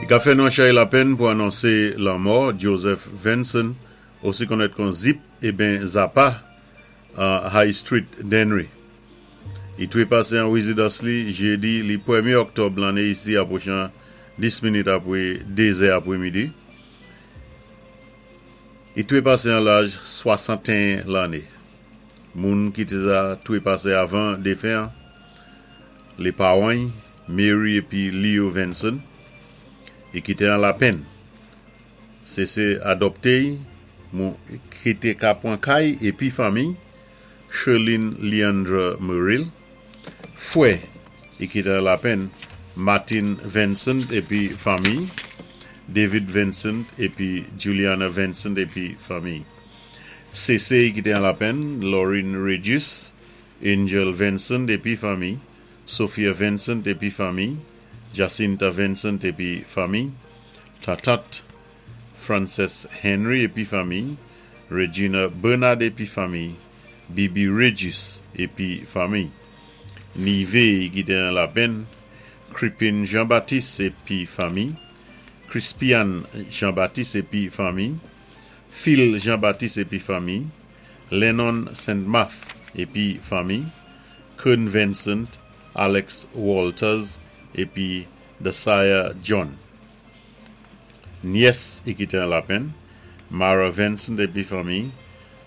I ka fè nou an chay lapenn pou anonsé lanmò Joseph Venson, osi konnèt kon Zip eben Zapa, an High Street, Dennery. I twépasé an wézidans li jédi li pwémyé òktòb lanné isi apwochan 10 minit apwé 2 zè apwémidi. I twépasé an laj 61 lanné. Moun ki té za twépasé avan défen an, lé pawan-y, Mary épi Leo Venson, i kité an lapenn. Sésé adòpté-y mou ki té ka pwan kay épi fanmiy, Sherline Leandra Muril, fwè i kité an lapenn, Martin Vincent épi fanmiy, David Vincent épi Juliana Vincent épi fanmiy. Sésé i kité an lapenn, Laurine Regis, Angel Vincent épi fanmiy, Sophia Vincent épi fanmiy, Jacinta Vincent épi fanmiy, Tatat Frances Henry épi fanmiy, Regina Bernard épi fanmiy, Bibi Regis épi fanmiy. Nivé i kité an lapenn, Cripin Jean Baptiste épi fanmiy, Crispian Jean Baptiste épi fanmiy, Phil Jean Baptiste épi fanmiy, Lennon Saint Marth épi fanmiy, Kern Vincent, Alex Walters épi Desire John. Nyès i kité an lapenn, Mara Vincent épi fanmiy,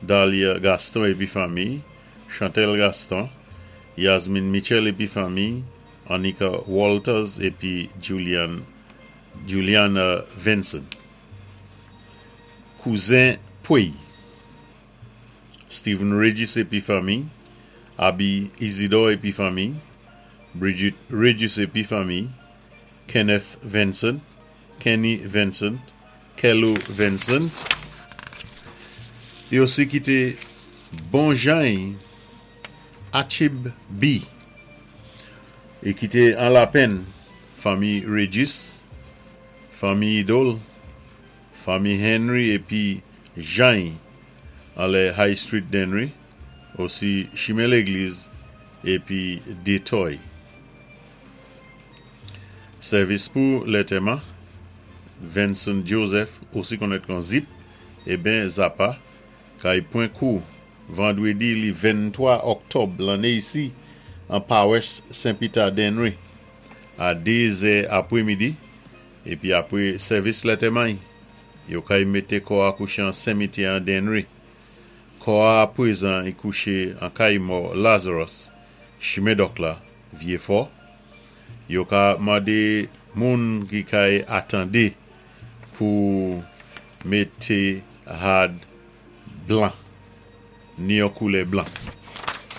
Dahlia Gaston épi fanmiy, Chantel Gaston, Yasmine Mitchell épi fanmiy, Annika Walters épi Julian Juliana Vincent. Kouzen Pwéy, Steven Regis épi fanmiy, Aby Isidore épi fanmiy, Bridget Regis épi fanmiy, Kenneth Vincent, Kenny Vincent, Kello Vincent. I osi kité bon jan-y Achib B. I kité an lapenn fanmiy Regis, fanmiy Idol, fanmiy Henry épi jan-y anlè High Street Dennery, osi Chimen Légliz épi Détoy. Sèvis pou lètèman, Venson Joseph, osi konnèt kon Zip, eben Zapa, kay pwen kou vandwédi li 23 òktòb lanné isi an pawès Sen Pita Dennery a 2 zè apwémidi épi apwé sèvis lètèman-y yo kay mété kò a kouché an senmityè an Dennery. Kò a apwézan y kouché an kay mò Lazarus, chimen Dòk la, Vyefò. Yo ka mande moun ki kay atande pou mete rad blan, ni yon koulè blan.